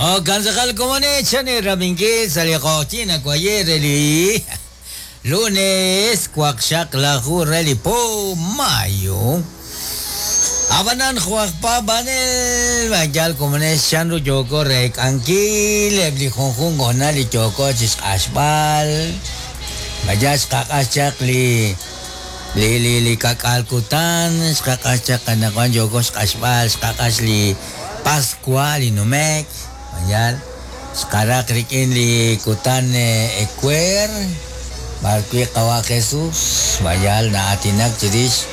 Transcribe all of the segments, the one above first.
Jo'kan tz'aqal komonil chan eerab'inkil sa' li q'oqyink nawaye' re li lunes waqxaqlaju re li po mayo. Ab'anan jo' aj paab'anel ma yaal komonil chanru yooko reek'ankil eb' li junjunq hoonal li yooko chixq'axb'al, ma yaal xqaq'ax chaq li li li li ka'k'aal kutan, xqaq'ax chaq anaqwan yooko xq'axb'al, xqaq'ax li Pascua li nume'k, mayal, xqaraq rik'in li kutan ewer, b'arwi' Qawa' Jesus, mayal, na'aatinak chirix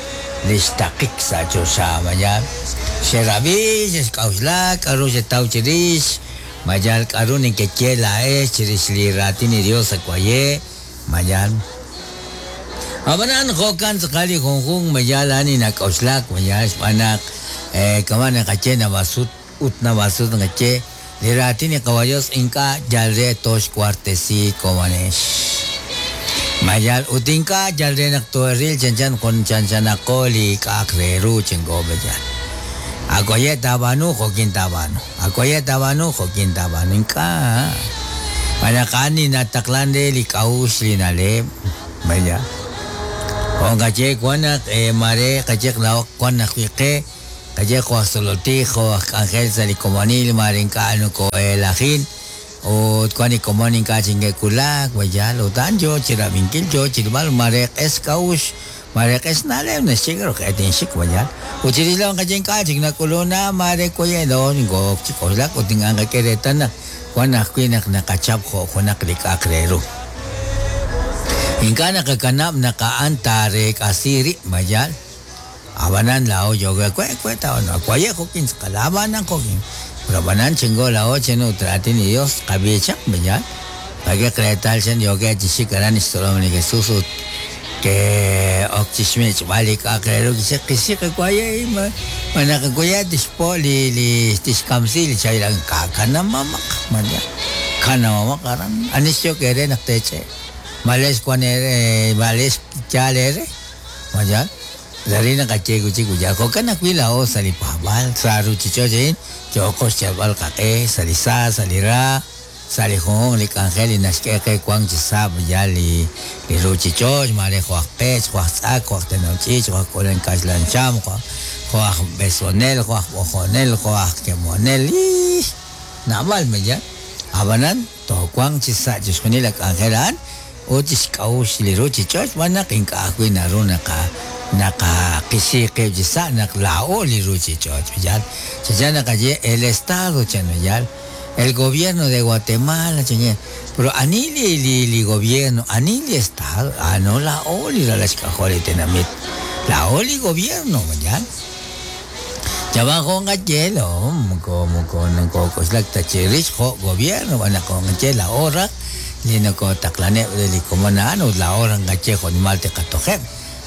li xtaqik sa' choxa, mayal, xerab'i, xexk'a'uxlak, k'a'ru xetaw chirix, mayal, k'a'ru nekeye laa'ex chirix li raatin li Dios sa' waye', mayal. Ab'anan jo'kan tz'aqal li junjunq mayal a'an li nak'oxlak mayal xb'aan naq kama' naqaye naab'al sut ut naab'al sut naqaye li raatin li Qawa' Yos ink'a' yal re tooxwartesi komonex. Mayal ut ink'a' yal re naq too'eril chanchan jun chanchanaqo li k'a'aq re ru chenko mayal. Awaye' taab'aanu jo'kin taab'aanu. Awaye' taab'aanu jo'kin taab'aanu. Ink'a'. Xb'aan naq a'an li nataqlan re li k'a'uxl li na'leb'. Vaya. Jo' nqaye wan naq maare qayeq laa'o wan ajwi' qe, qaye jo' aj tzolol tij, jo' aj k'anjel sa' li komonil maare ink'a' noko'elajin ut wan li komon ink'a' chik neke'wulak, vaya, ut a'an yoo chirab'inkil, yoo chirilb'al maare q'es xk'a'uxl, maare q'es xna'leb' naxye k'a'ru q'e tinxik, vaya. Ut chirix laa'o nqaye ink'a' chik nak'ulun na maare waye' laa'o nokoo'ok chi k'oxlak ut ink'a' nqak'e reetal naq Wan ajwi' naq naqachap jo' junaq li k'a'aq re ru. Ink'a' naqakanab' naq a'an taareek'asi rib' ma yaal? Ab'anan laa'o yooko we, we taab'aanu, waye' jo'kin tz'aqal, ab'anan jo'kin. Pero ab'anan chenko laa'o chen ut raatin li Dios qab'i chaq, ma yaal? Qak'e reetal chen yookeb' chi xik aran lix tzolom li Jesus ut ke'ok chixmich'b'al li k'a'aq re ru kixye, Qixik waye' ma ma naq waye' tixpo' li li tixkamsi li chahil a'an ka'kanamamaq ma yaal kanamamaq aran ani xyok eere naq teech'e' malex wan eere malex yaal eere ma yaal Laa'in naqaye wi' chik, Jo'kan ajwi' laa'o sa' li paab'aal, sa' ruuchich'och' a'in yooko xyalb'al qaq'e sa' li sa, sa' li ra, Sa' li junjunq li k'anjel li naxk'e qe wank chi sa' b'ayal li li ruuchich'och', maare jo' aj pech', jo' aj tz'ak, jo' aj tenol ch'iich', jo' aj k'uulel kaxlan xam, jo' jo' aj b'esonel, jo' aj b'ojonel, jo' aj kemonel, ii, naab'al b'ayal. Ab'anan, toowanq chi sa' chixjunil a k'anjel a'an ut chi xk'a'uxl li ruuchich'och' xb'aan naq ink'a' ajwi' naru naqa naqaqisi qib' chi sa' naq laa'o li ruuchich'och' b'ayal. Chanchan naqaye el estado chan b'ayal. El gobierno de Guatemala, chankin, pero ani li, li, li gobierno, ani li estado, ah no laa'o li ralal xk'ajol li tenamit, laa'o li gobierno, ma yaal? Chab'an jo' nqaye laa'o moko, moko nokok'oxlak ta chirix jo' gobierno, b'an naq jo' nqaye laa'o raj li nokotaqlaneb' re li komon a'an ut laa'o raj nqaye jo' nimal tiqatojeb',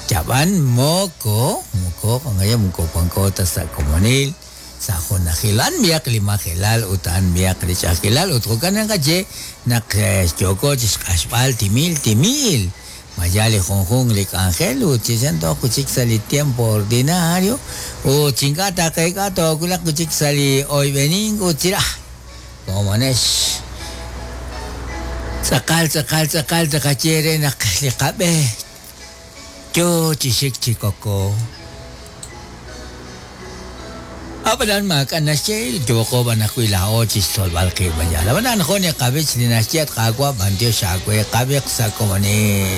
chab'an moko, moko, jo' nqaye moko wanko ta sa' komonil. Sa' junajil a'an b'ihaq li majelal ut a'an b'ihaq li ch'a'ajkilal ut jo'kan naqaye naq yooko chi xq'axb'al timil timil ma yaal li junjunq li k'anjel ut chi xan tooq wi' chik sa' li tiempo ordinario ut chi ink'a' taqeek'a toowulaq wi' chik sa' li oyb'enink ut chi raj komonex tz'aqal tz'aqal tz'aqal taqaye re naq li qab'e Yo chi xik chi koko. Ab'anan maak'a' naxye, yooqo b'an ajwi' laa'o chi xtzolb'al qib' b'ayal. Ab'anan jo' niqab'ich li naxye, At Qaawa', b'anyox aawe, qab'iq sa' komonil.